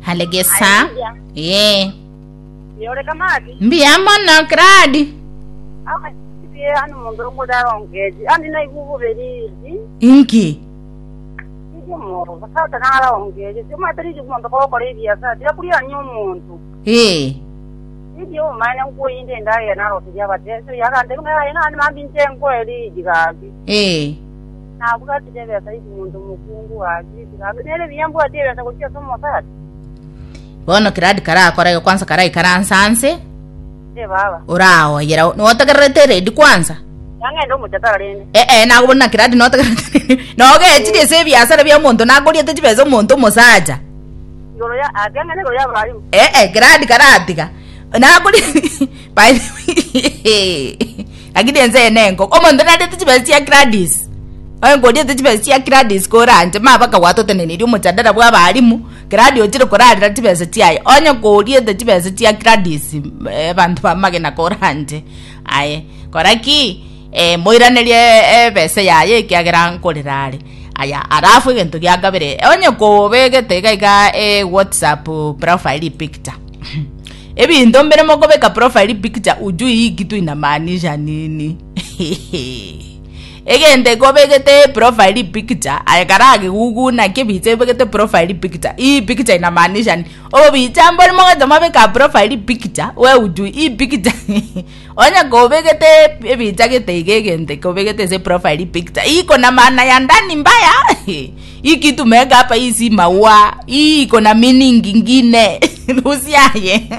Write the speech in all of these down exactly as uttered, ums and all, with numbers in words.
Alegesa. Eh. Yore kamati. Mbuya mono Gradi. Akasiye anu mundu ngudara ongeji. Andi na igubu beriji. Inki. Ije mo basata nara ongeji. Sima tariji kumuntu kokora ebiasara. Tira kuriya nyomuntu. Eh. Ije o mane nkuinde ndaye naro tija bate. So yakande ngaya ngani mambinje nkweli jigabi. Eh. Navuga tije iji muntu mukungu waji. Jigabi nere biyambu atebesa kuchia somo sata. Bono Gradi karakora kwanza karai karansanse. Eh baba. Uraoyera notagerete ready kwanza. Yang'enda omuchatara rende. Eh eh nagobona Gradi notagerete. Nogechirie se ebiasara bia omonto nagoriete chibesa omonto omosacha. Igoro ya atang'ene igoro ya barimu. Eh eh Gradi karatiga. Nagori by the way. Lakini enze nengo. Omonto narete chibesa chia Gladys. Oyo ngoriete chibesa chia Gladys koranje mabaka gwatotenenirie omochadara bwa abarimu. Gradi ochire korarera chibesa chiaye. Onye koriete chibesa chia Gladys eh, bantu bamagena koranje. Aye koraki eh moiranerie ebesa yaye ekiagera nkorera are. Aya arafu egento giakabere onye kobegete iga iga eh, WhatsApp profile picture ebinto mbere mokobeka profile picture ujui hii kitu inamaanisha nini. Egente kobegete profile picture aya karage gugu na kebiche begete profile picture hii picture inamaanisha nini. Obicha mbori mogocha mabeka profile picture we ujui hii picture. Onye kobegete ebicha gete igegente kobegete se profile picture iko na maana ya ndani mbaya. Hii kitu meweka hapa hii si maua, hii iko na meaning ingine. Rusi aye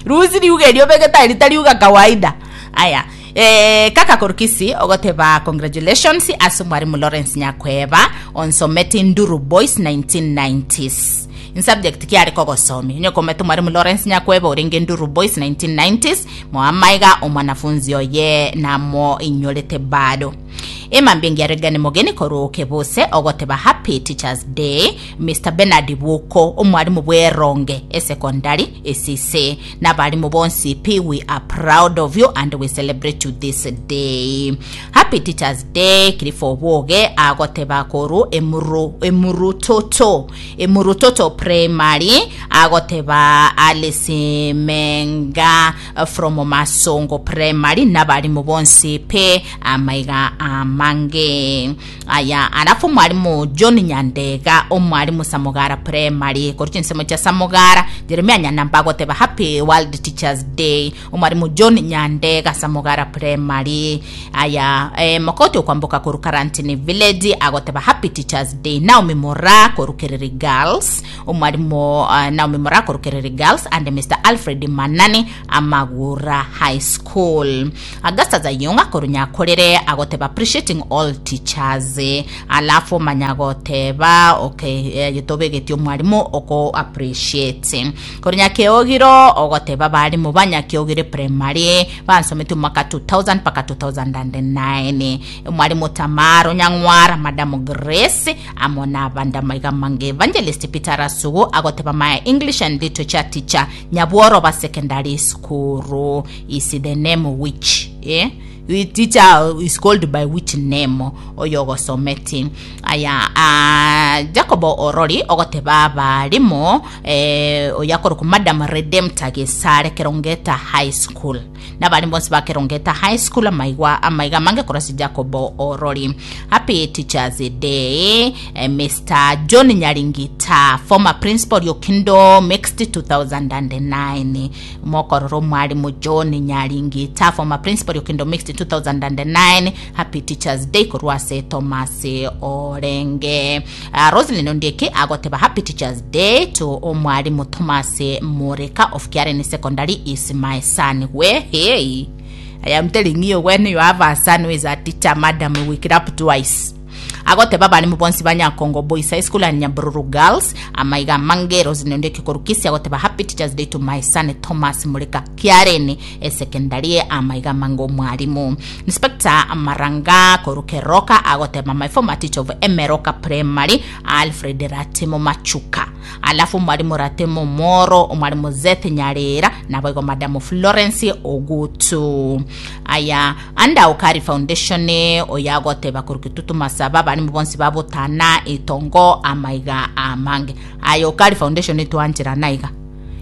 rusi riuge riobegete ritariuga kawaida. Aya eh, kaka korukisi ogoteba congratulations ase mwarimu Lawrence Nyakweba on Someti Nduru Boys nineteen nineties in subject kiari kogosomi nyokomete mwarimu Lawrence Nyakweba orenge Nduru Boys nineteen nineties moamaiga omwanafunzi oye namo inyorete bado emambingi aregane mogeni koruke bose ogoteba happy Teachers Day Mister Bernard Buko omwarimu bweronge esecondary esise nabarimu bonsi p, we are proud of you and we celebrate you this day. Happy Teachers Day Kirifo Bwoge agoteba koru emuru emurutoto emurutoto Primary agoteba Alice Menga uh, from Masongo Primary nabarimu bonsi pe amaiga amange. Aya alafu mwalimu John Nyandega omwalimu Samugara Primary koru chinsemo cha Samugara Jeremia Nyanamba agoteba happy World Teachers Day omwalimu John Nyandega Samugara Primary. Aya eh, Mokoti okwamboka koru Karantini Village agoteba happy Teachers Day Naomi Mora koru Kereri Girls omwalimu uh, Naomi Mora koru Kereri Girls and Mister Alfred Manani Amagura High School. Augusta Zayunga koru Nyakorere agoteba appreciating all teachers. Alafu manyagoteba okay eh, gitobegetio mwalimu oko appreciate koru Nyakeogiro ogoteba barimu ba Nyakeogire Primary bansomete mwaka two thousand mpaka two thousand and nine mwalimu Tamaro Nyang'wara, Madam Grace amona banda maiga mange. Evangelist Peter Rasugu agoteba my English and literature teacher Nyabworo ba Secondary School is the name which eh the teacher is called by which name oyo gosometi. Aya uh, Jacobo Orori ogoteba abarimu eh, oyakoruku Madam Redempta Gesare Kerongeta High School nabarimu bonsi ba Kerongeta High School amaigwa amaiga mange korosi Jacobo Orori. Happy Teachers Day eh, Mister John Nyaringita, former principal Yokindo Mixed two thousand and nine mokororo mwalimu John Nyaringita, former principal Yokindo Mixed two thousand and nine, happy Teachers Day korwase Thomas Orenge. uh, Roslyn Ondieki agoteba happy Teachers Day to omwalimu Thomas Moreka of Kiaren Secondary is my son. We hey, I am telling you, when you have a son who is a teacher, madam, we clap twice. Agoteba barimu bonsi ba Nyakongo Boys High School and Nyabururu Girls amaiga mange. Roslyn Ondieki korukisi agoteba happy Teachers Day to my son Thomas Murika Kiareni secondary amaiga mango mwalimu. Inspector Maranga korukeroka agoteba my former teacher of Emeroka Primary Alfred Ratimo Machuka. alafu mwalimu Ratemo Moro, mwalimu Zeth Nyarera na boigo Madam Florence Ogutu. Aya anda Okari Foundation oyagoteba kurukitutu masaba bali mubonsi babotana itongo amaiga amange. Aya Okari Foundation twanjira naiga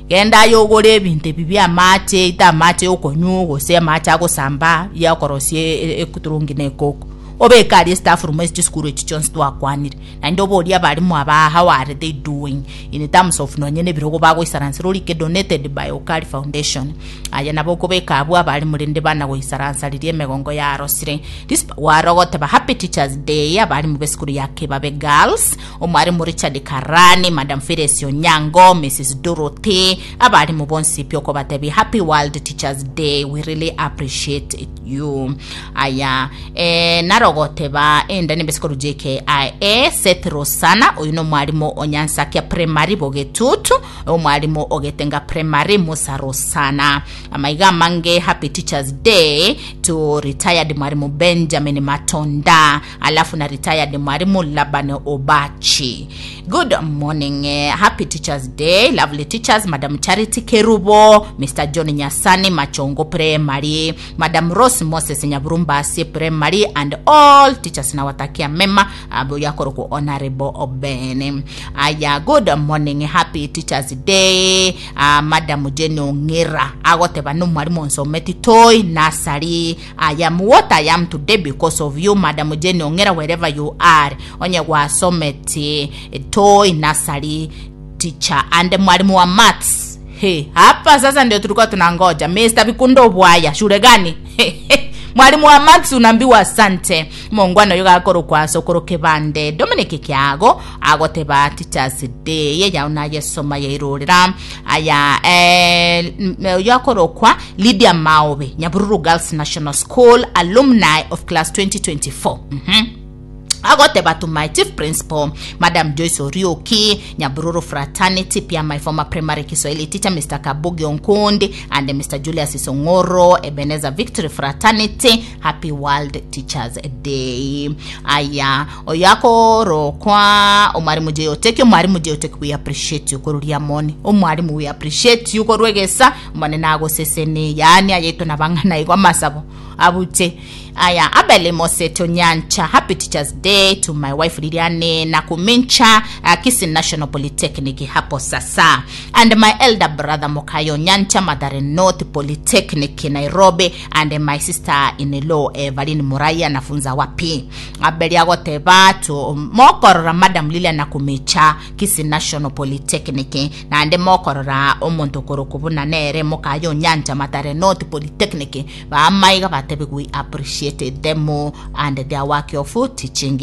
genda yogore ebintu ebi bia amache ita amache okonywa gose amache agosamba yakorosie ekuturungi na ekoko obekari staff room esi chisukuru echi chionsi twakwanire naende oboria abarimu aba how are they doing in terms of nonye nebirogo bagoisaransa rorike donated by Okari Foundation. Aya nabo okobeka abwo abarimu rende bana goisaransa riria emegongo yarosire this warogoteba happy teachers day abarimu b'esukuru ya Kebabe Girls, omwarimu Richard Karani, Madam Feres Onyango, Missus Dorothy, abarimu bonsi pyo kobatebi happy World Teachers Day, we really appreciate you. Aya eh, narogoteba enda nembesikoro J K I A Seth Rosana, oyu no mwarimu Onyansakia Primary Bogetutu, omwarimu Ogetenga Primary Musa Rosana. Amaiga mange happy Teachers Day to retired mwarimu Benjamin Matonda, alafu na retired mwarimu Laban Obachi. Good morning, eh, happy Teachers Day, lovely teachers, Madam Charity Kerubo, Mister John Nyasani Machongo Primary, Madam Rose Moses Nyaburumbasi Primary, and all teachers nawatakia mema abo yakoro Honorable Obene. Aya good morning, happy Teachers Day, uh, Madam Jane Ongira agoteba no mwarimu nsometi toy nasari. I am what I am today because of you, Madam Jane Ongira, wherever you are. Onye gwasometi toy nasari teacher and mwalimu wa maths. Hey, hapa sasa ndio tulikuwa tunangoja Mister Bikundo Bwaya, shule gani? Mwalimu wa maths unaambiwa asante. Mongwana yoga akoro kwa sokoro kebande Dominic Kiago agoteba Teachers Day ye yauna yesoma yeirorera. Aya eh yakoro kwa Lydia Maobe, Nyabururu Girls National School alumni of class twenty twenty-four. Mhm. Agoteba to my chief principal Madam Joyce Orioki, Nyabururu Fraternity, pia my former primary Kiswahili teacher Mister Kabugi Onkundi and Mister Julius Songoro, Ebenezer Victory Fraternity, happy World Teachers Day. Aya oyako kwa omwarimu Jeyoteki, omwarimu Jeyoteki we appreciate you koruria moni, omwarimu we appreciate you korwegesa mone nagosesene yani ayeto nabangana igwa masabo abute. Aya Abele Moseto Nyancha, happy Teachers Day to my wife Liliane Nakumincha, uh, Kisii National Polytechnic hapo sasa, and my elder brother Mokayo Nyancha, Mathare North Polytechnic Nairobi, and my sister in law Evelyn Muraya nafunza wapi. Abele agoteba to mokorora Madam Liliane Nakumincha Kisii National Polytechnic, na ande mokorora omonto korokubuna nere Mokayo Nyancha Mathare North Polytechnic ba maiga batebe we appreciate them and their work of teaching.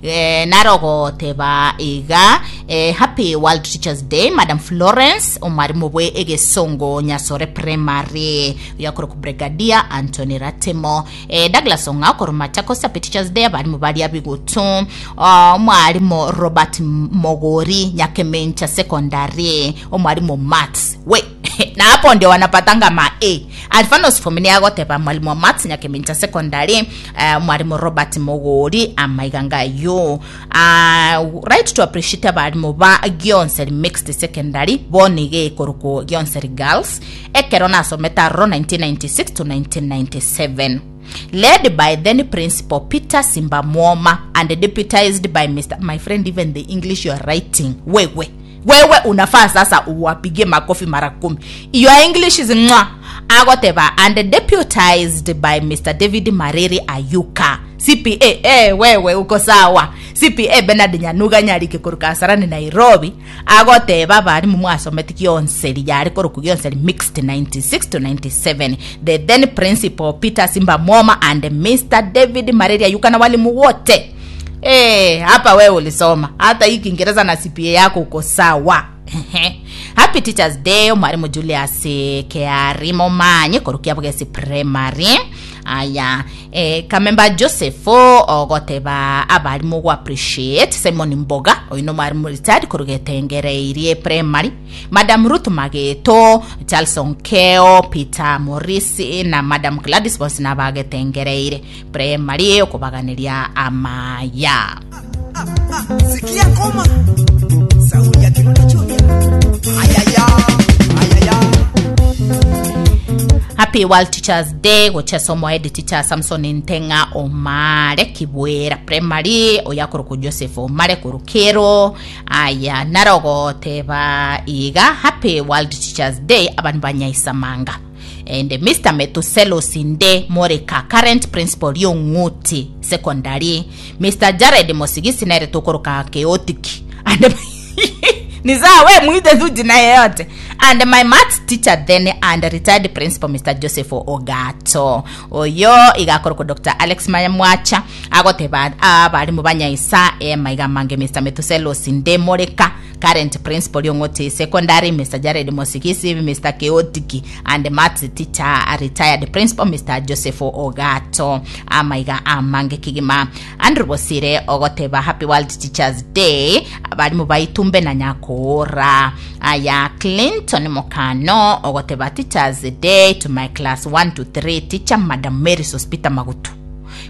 Eh, narogo teba iga eh, happy World Teachers Day Madam Florence omwarimu bwe egesongo Nyasore Primary yakoro ku Brigadier Anthony Ratemo, eh, Douglas Onga koro Machakos happy Teachers Day abarimu bali abigutu, omwarimu Robert Mogori Nyakemencha Secondary, omwarimu maths we na hapo ndio wanapatanga ma A. Alfanos Fomini agoteba mwalimu wa maths Nyakemencha Secondary, uh, mwalimu Robert Mogori amaiganga yo. Uh, right to appreciate abarimu ba Gionseri Mixed Secondary bonige koruko Gionseri Girls ekero nasometa ro nineteen ninety-six to nineteen ninety-seven, led by then principal Peter Simbamwoma and deputized by Mister My friend, even the English you are writing, wewe wewe unafaa sasa uwapige makofi mara kumi. Your English is mwa. Agoteba and deputized by Mister David Mariri Ayuka C P A. Eh, wewe uko sawa. C P A Bernard Nyanuga Nyarike kuruka Kasarani Nairobi. Agoteba bari mu mwasometi Gionseri yari kuruka Gionseri Mixed ninety-six to ninety-seven. The then principal Peter Simbamwoma and Mister David Mariri Ayuka na walimu wote. Eh, hapa wewe ulisoma. Hata hii Kiingereza na C P A yako uko sawa. Happy Teachers Day mwalimu Julius Kearimo Manye korukia Bugesi Primary. Aya eh, Kamemba Joseph ogoteba abarimu go appreciate Simon Mboga oino mwalimu retired korugetengereirie Primary, Madam Ruth Mageto, Charles Onkeo, Peter Morris na Madam Gladys bonsi nabagetengereire Primary okubaganiria amaya. Sikia koma sauti ya kinunda. Happy World Teachers Day gochesa omohead teacher Samson Ntenga Omare Kibwera Primary, oyakoruku Joseph Omare Kurukero. Aya, narogoteba iga happy World Teachers Day abantu banyaisamanga and Mister Metuselo Sinde Moreka, current principal Yonguti Secondary, Mister Jared Mosigisi nere tukoroka chaotic and ni sawa, we mwite tu jina yeyote, and my maths teacher then and retired principal Mister Joseph Ogato. Oyo igakoroko Doctor Alex Mayamwacha agoteba abarimu banyaisa e maiga mange Mister Metuselo Sinde Moreka, current principal Yong'ote Secondary, Mister Jared Mosigisi, Mister Keotiki and maths teacher, retired principal Mister Joseph Ogato, amaiga amange kigima. Andrew Bosire ogoteba happy World Teachers Day abarimu baitumbe na nyakora. Aya, Clinton Mokano ogoteba teachers day to my class one to three teacher Madam Mary Sospita Magutu,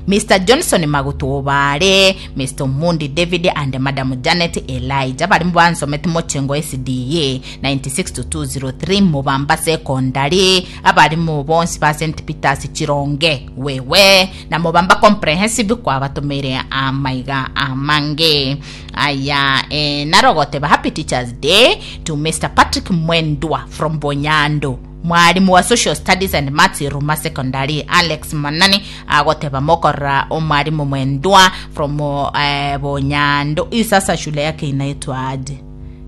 Mister Johnson Magutu Obare, Mister Mundi David and Madam Janet Elijah, bali mbansomete mochengo S D A ninety-six to two oh three, Mubamba Secondary, abalimu bonsi ba Saint Peters Chironge wewe na Mubamba Comprehensive kwa batumire amaiga amange. Aya, eh, narogoteba happy Teachers Day to Mister Patrick Mwendwa from Bonyando, mwalimu wa social studies and maths, Ruma Secondary. Alex Manani agoteba mokora omwalimu Mwendwa from uh, Bonyando. Hii sasa shule yake inaitwa aje?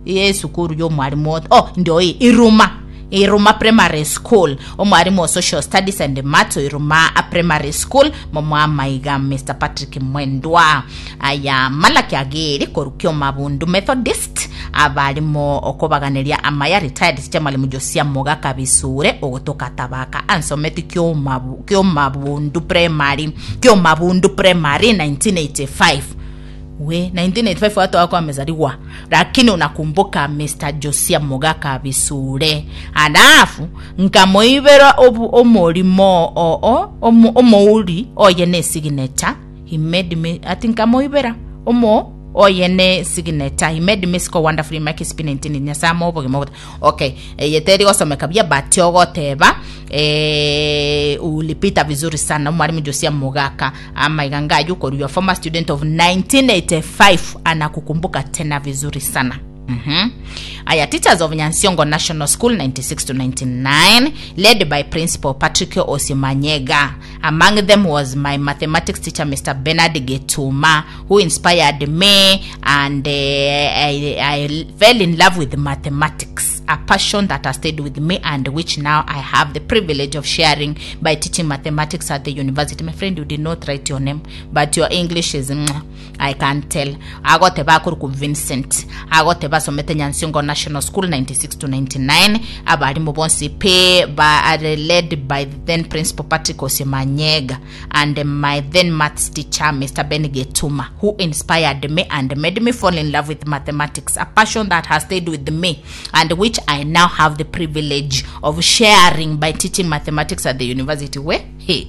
Iye sukuru yo mwalimu, oh, ndio hii Iruma, Iruma Primary School. Omwalimu wa social studies and maths, Iruma Primary School, momwamaiga Mister Patrick Mwendwa. Aya, Malaki Agiri korukio Mabundu Methodist, abalimu okobaganeria amaya. Retired teacher mwalimu Josia Mogaka Bisure ogotoka Tabaka, ansometi kio mabu kio Mabundu Primary, kio Mabundu Primary nineteen eighty-five. We, nineteen eighty-five watu wako wamezaliwa, lakini unakumbuka Mister Josia Mogaka Bisure. Alafu nkamoibera omulimo oo omouri oye ne signature he made me, ati nkamoibera omo oye ne signature he made me score wonderfully my K C P E nineteen nyasamo obogima. Okay, yeteri gosomeka bia but ogoteba eh, ulipita vizuri sana mwalimu Josia Mugaka ama iganga yuko your former student of nineteen eighty-five anakukumbuka tena vizuri sana. Mm-hmm. Aya, teachers of Nyansiongo National School ninety-six to ninety-nine, led by Principal Patrick Osimanyega. Among them was my mathematics teacher, Mister Bernard Getuma, who inspired me and uh, I, I fell in love with mathematics, a passion that has stayed with me and which now I have the privilege of sharing by teaching mathematics at the university. My friend, you did not write your name, but your English is, mm, I can tell. Agoteba akuruku Vincent. Agoteba somete Nyansiongo National School ninety-six to ninety-nine. Abalimu bonsi pe ba are led by the then principal Patrick Osimanyega and my then maths teacher, Mister Ben Getuma, who inspired me and made me fall in love with mathematics, a passion that has stayed with me and which I now have the privilege of sharing by teaching mathematics at the university. We hey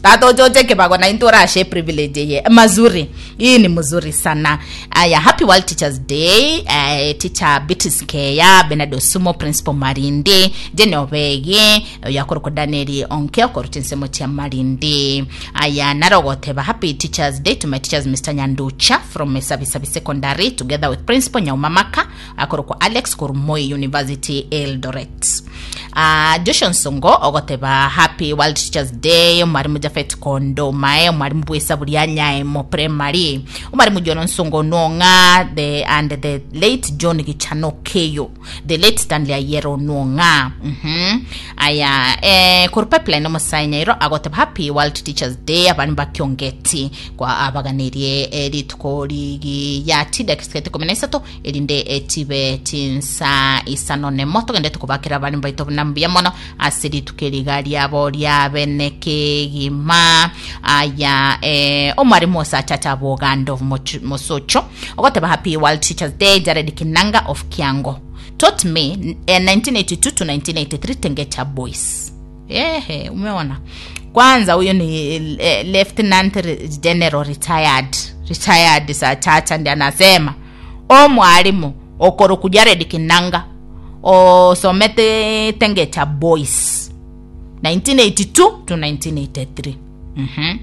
tatochoche kibago na inturashe privilege ye mazuri, hii ni mzuri sana. Aya, happy World Teachers Day, uh, teacher Beatrice Keya, Bernard Osumo, principal Marindi, Jene Obege yakoroko, Daniel Onke okoruta ensemo chia Marindi. Aya, narogoteba happy Teachers Day to my teachers, Mister Nyanducha from Sabisabi Secondary together with principal Nyaumamaka akoroko Alex Kurumoi University Eldoret. uh, Joshua Nsongo ogoteba happy World Teachers Day mwalimu Jafet Kondo mae, mwalimu bwesa bulia nyaemo primary, omwalimu John Nsongo Nonga the and the late John Gichano Keyo, the late Stanley Ayero Nonga. mm-hmm. Aya, eh, kuru pipeline omusainyairo agoteba happy World Teachers Day abandu bakiongeti kwa abaganirie eh, rituko ligi ya tidakika ikumi na isato erinde etibe tinsa isano nemo tugende tukubakira abandu baito nambuya mono ase rituko eriga riabo riabeneke gima. Aya, eh, omwarimu osachacha bogando Mosocho ogoteba happy World Teachers Day Jared Kinanga of Kiango, taught me eh, nineteen eighty-two to nineteen eighty-three, Tengecha Boys. Ehe, umeona kwanza huyo ni eh, lieutenant general retired retired Sachacha ndi anasema o mwalimu okoro Jared Kinanga osomete Tengecha Boys. nineteen eighty-two to nineteen eighty-three. Mhm.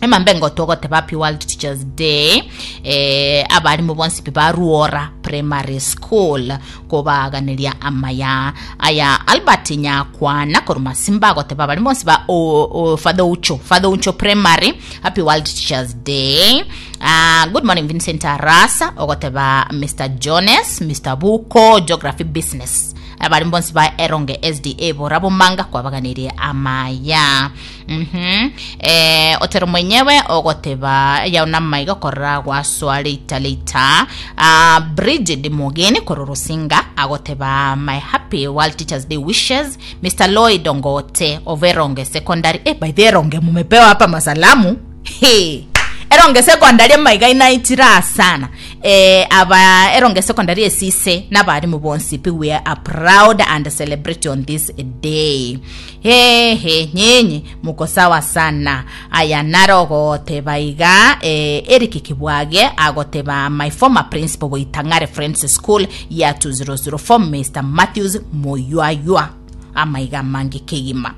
Emambe ngotogoteba happy World Teachers Day, eh, abarimu bonsi pi baruora primary school kobaaganeria amaya. Aya Albert Nyakwana koruma Simba agoteba abarimu bonsi ba o, o, Father Ucho, Father Ucho Primary, happy World Teachers Day. Uh, good morning Vincent Arasa ogoteba Mister Jones, Mister Buko, Geography Business, abarimu bonsi ba Eronge S D A borabo manga kwabaganirie amaya. Mhm eh otero mwenyewe ogoteba yauna maiga korora gwaswa leita leita. uh, Bridget Mogeni kororosinga agoteba my happy World Teachers Day wishes, Mister Lloyd Ongote of Eronge Secondary. Eh, by the Eronge mumepewa hapa masalamu. Hey. Eronge Secondary maiga inaitira sana, eh, aba Eronge Secondary esise n'abarimu bonsi pi, we are proud and celebrate on this day. He he, nyenye muko sawa sana. Aya narogoteba iga, eh, Eric Kibwage agoteba my former principal Boitangare Friends School ya two thousand four, Mister Matthews Moywaywa, amaiga mangi kigima.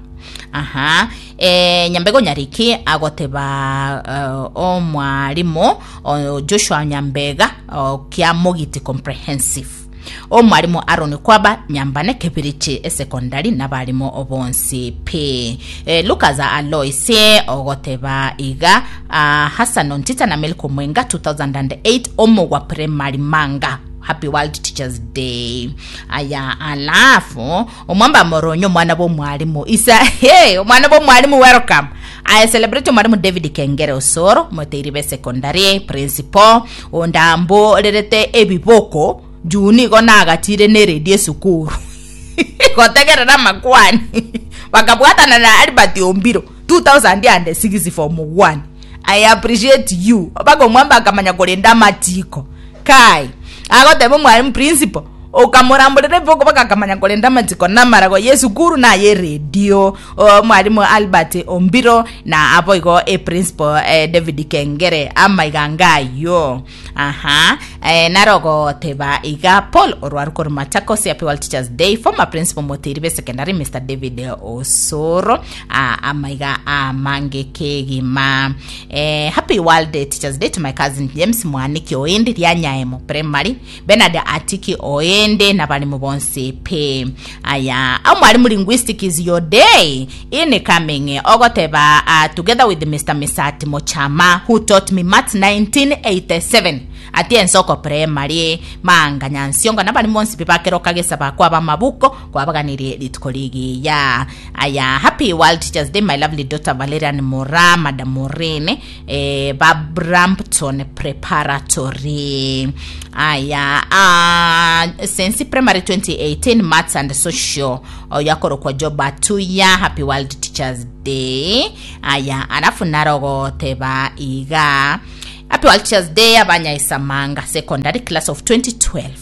Aha, e, Nyambego Nyariki agoteba uh, omwarimu uh, Joshua Nyambega uh, kia Mogiti Comprehensive, omwarimu Aron Kwaba Nyambane Kebirichi Secondary n'abarimu bonsi p. E, Lucas Aloise ogoteba iga uh, Hassan Ontita na Melko Mwenga two thousand eight Omogwa Primary Manga, happy World Teachers Day. Aya alafu omwamba Moronyo mwana bo mwalimu isa, hey, omwana bo mwalimu, welcome. I celebrate mwalimu David Kengere Osoro Moteiribe Secondary principal ondambo lerete ebiboko juu nigo nagatire ne radio sukuru gotegerera makwani bakabwatana na Albert Ombiro two thousand six form one. I appreciate you bako mwamba akamanya kulinda matiko kai agoteba mwalimu principal ukamuramburira iboko bakakamanya kulinda matiko namarago ye sukuru na ye radio, mwalimu Albert Ombiro na abo igo e principal eh, David Kengere amaigangayo. Aha, eh, narogoteba iga Paul Orwaru koru Machakos, happy World Teachers Day, former principal Moteribe Secondary Mister David Osoro, ah, amaiga amange kegima. eh, happy World Teachers Day to my cousin James Mwaniki Oindi Ryanyaemo Primary, Bernard Atiki Oende na balimu bonse pe. Aya amwalimu, linguistic is your day incoming ogoteba uh, together with Mister Misati Mochama who taught me maths nineteen eighty-seven ati Ensoko Primary manga nyansionga na balimu bonse bakero kagesa bakwa ba mabuko kwabaganirie rituko rigiya. Aya happy World Teachers Day, my lovely daughter Valerian Mora, Madam Morene, eh, ba Brampton Preparatory. Aya uh, Sensi Primary twenty eighteen maths and social yakorokwa Job Atuya, happy World Teachers Day. Aya alafu narogoteba iga happy World Teachers Day Abanyaisamanga Secondary class of twenty twelve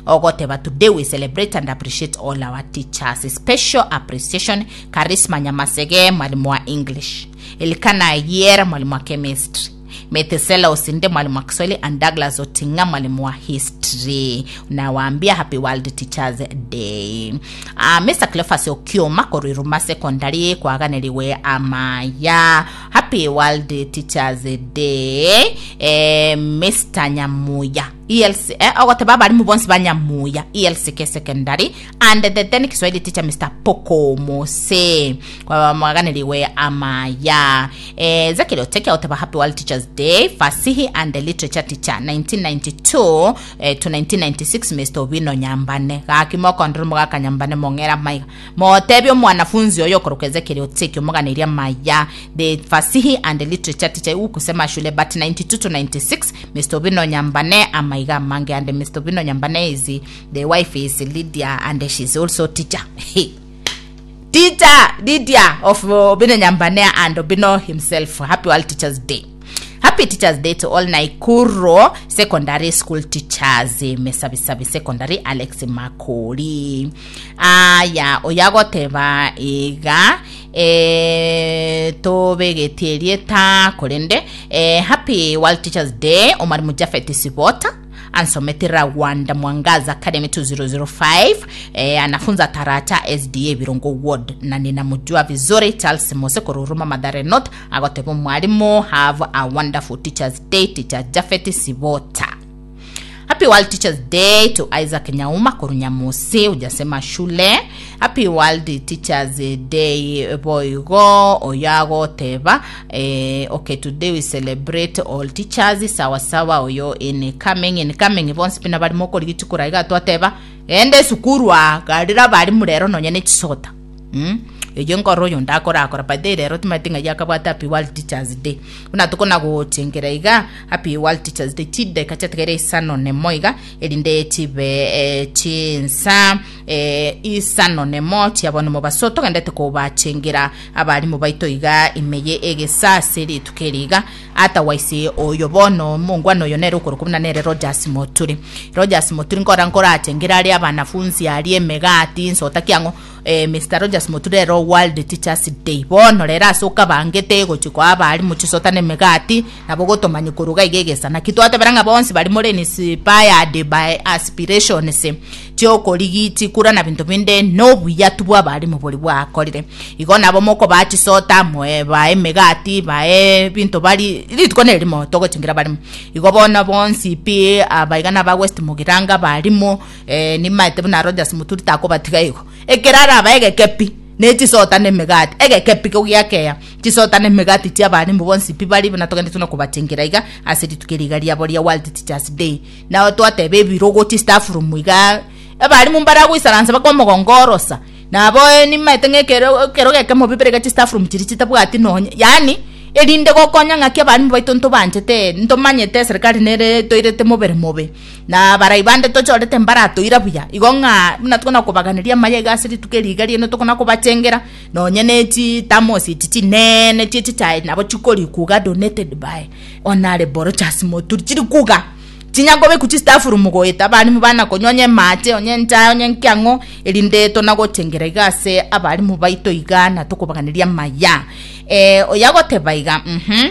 ogoteba today we celebrate and appreciate all our teachers. Special appreciation Charisma Nyamasege, mwalimu wa English, Elikana Yer, mwalimu wa chemistry, Methesela Osinde, mwalimu wa Kiswahili, and Douglas Otinga, mwalimu wa history. Nawaambia happy World Teachers Day. uh, Mister Cleophas Okioma Koriruma Secondary kwaganeriwe amaya, happy World Teachers Day. eh, Mister Nyamuya E L C, eh, ogoteba abarimu bonsi ba Nyamuya E L C K Secondary and the then Kiswahili teacher Mister Poko Mose kwaganeriwe amaya. eh, Zekeri Oteke oteba happy World Teachers Day, fasihi and literature teacher nineteen ninety-two eh, to nineteen ninety-six Mister Obino Nyambane gaki mokondro mugaka Nyambane mong'era maiga motebio mwanafunzi oyo okoroka Ezekiel Oteke omoganiria maya, the fasihi and literature teacher ukusema shule but ninety-two to ninety-six Mister Obino Nyambane amaiga mange. And Mister Obino Nyambane is the wife is Lydia and she's also teacher, teacher Lydia of Obino Nyambane and Obino himself. Happy World Teachers Day. Happy Teachers Day to all Naikuro Secondary School teachers, Mesabisabi Secondary Alex Makori. Aya oyagoteba iga e, tobegetierie ta korende, eh, happy World Teachers Day omwarimu Jafet Sibota. ansomete Rwanda Mwangaza Academy two thousand five, eh, anafunza Tarata S D A Birongo Ward na ninamjua vizuri. Charles Mose Koruruma, Mathare North, agoteba mwalimu, have a wonderful Teachers Day. Teacher Jafet Sibota. Happy World Teachers Day to Isaac Nyauma Korunyamusi, ujasema shule. Happy World Teachers Day boigo oyago teba eh, okay, today we celebrate all teachers. Sawa sawa. Oyo in coming in coming bonsi pina bari mokori gichukura iga twateba ende sukuru a garira bari murero nonye ne chisota mm? Eyo nkoro oyo ndakorakora by the rero timaete ng'a yakabwate Happy World Teachers Day buna tukona gochengera iga. Happy World Teachers Day, chideka chiatigere isano nemo iga erinde chibe eh, chinsa eh, isano nemo chiabona mobaso togendete kobachengera abarimu baito iga imeye egesase rituko eri iga. Otherwise oyo bono mongwana oyo nere okoro kumuna nere Rogers Moturi. Rogers Moturi nkora nkorachengera ari abanafunzi ari emegati nsota kiang'o eh, Mister Rogers Moturi ero World Teachers Day bono rero ase okabangete gochikoa abarimu chisota na emegati nabo gotomanya koruga iga egesa naki twatebera ng'a bonsi bari more inspired by aspirations chiokorigi chikura na binto binde nobuya tu bwa abarimu bori bwakorire igo nabo moko bachisota moe bae emegati bae binto bari rituko nerimo togochingera barimu igo bono bonsi pi abaigana ba West Mugiranga barimu eh, nimaete buna Rogers Muturi takobatiga igo ekerara abaegeke pi nechisota nemegati egeke pi giakeya chisota nemegati chia abarimu bonsi pi bari buna togende tuna kubachengera iga ase rituko eriga riabo ria World Teachers Day. Nao twateba ebirogo chi staff room iga abarimu mbaragoisaransa bakomogongorosa nabo nimaete ng'ekero ekero geke mobibere chi staff room chiri chitabwati nonye yani erinde gokonya ng'aki abarimu baito ntobanchete ntomanyete serikali nere toirete mobere mobe na barai bande tochorete mbaratoira buya igo ng'a buna tukona kobaganeria amaya iga ase rituko eriga riene tokona kobachengera nonye ne chitamosi echi chinene chie chichae nabo chikori kuga donated by Honorable Rogers Moturi chiri kuga chinyakobeku chistaff room goeta abarimu bana konywa onye mache onye nchae onye nkiang'o erinde tonagochengera iga ase abarimu baito iga na tokobaganeria amaya eh, oyagoteba iga mhm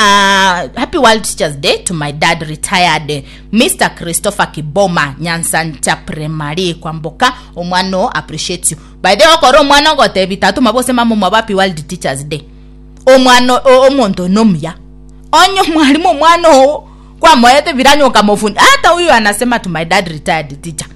Uh, happy World Teachers Day to my dad, retired Mister Christopher Kiboma, Nyansancha Primary, Kwamboka. Omwano appreciate you. By the way, okoro omwana ogotebi tatu mabose mama mwaba Happy World Teachers Day. Omwana omonto nomuya onye mwalimu omwana oo kwamoete viranyo ukamofunda. Hata huyu anasema to my dad, retired teacher,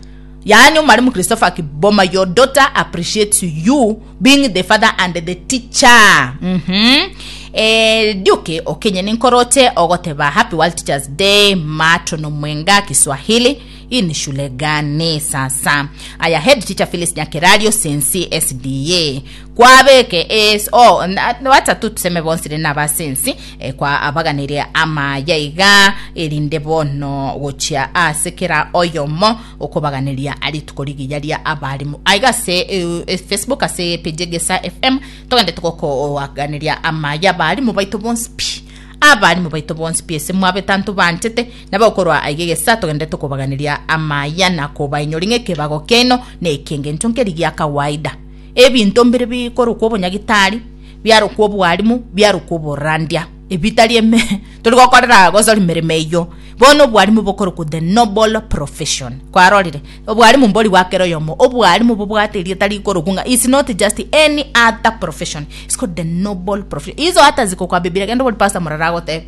yaani mwalimu Christopher Kiboma, your daughter appreciates you being the father and the teacher. mm-hmm. eh, duke okenye ninkorote ogoteba Happy World Teachers Day matono mwenga Kiswahili. Hii ni shule gani sasa? Aya, head teacher Phyllis Nyakerario, Sensi S D A kwabeke es oh, na- wacha tu tuseme bonsire n'abasensi eh, kwa abaganire amaya iga erinde bono gochia ase kera oyomo okobaganiria rituko rigiya ria abarimu aiga ase eh, eh, Facebook ase page Gesa F M togende tugokoaganiria amaya abarimu baito bonsi pi abarimu baito bonsi pi ase mwabe tanto banchete nabagokorwa aige gesa togende tukobaganiria amaya na kobainyori ng'ekebago keno na ekenge ncho nkeri gia kawaida ebinto mbire bikorokwa obonyagitari biarokwa obwarimu biarokwa oborandia ebitari eme tori gokorera gosori mirimo eyo bono obwarimu bokorokwa the noble profession kwarorire obwarimu mbori bwakero yomo obwarimu bobwate erieta rikorokwa ng'a it's not just any other profession, it's called the noble profession. Izo hata ziko kwa Biblia gendo bori pastor muraragote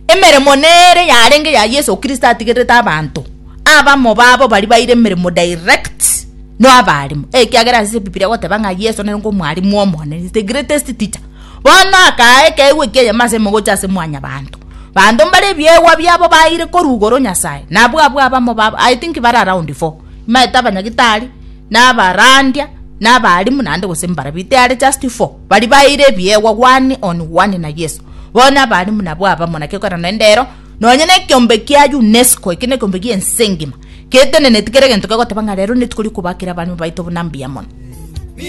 emeremo nere yarenge ya Yesu Kristo atigerete abanto abamo babo bari baire emeremo direct no abarimu ekiagera ase Biblia goteba ng'a Yesu nere ng'omwarimu omonene, is the greatest teacher. Bono akae keigwe kieyemo ase mogocha ase mwanya banto banto mbare ebiegwa biabo baire korwa igoro Nyasaye nabwo abwo abamo babo. I think bare around four maete abanyagitari n'abarandia n'abarimu naende gose mbara bite are just four bari baire ebiegwa one on one na Yesu. Bono abarimu nabwo abamo naki okora naende ero nonye na ekiombe kia UNESCO eki na ekiombe gia ense engima keteneneti kere egento kegoteba ng'a rero netuko rikobakera abarimu baito buna mbuya mono.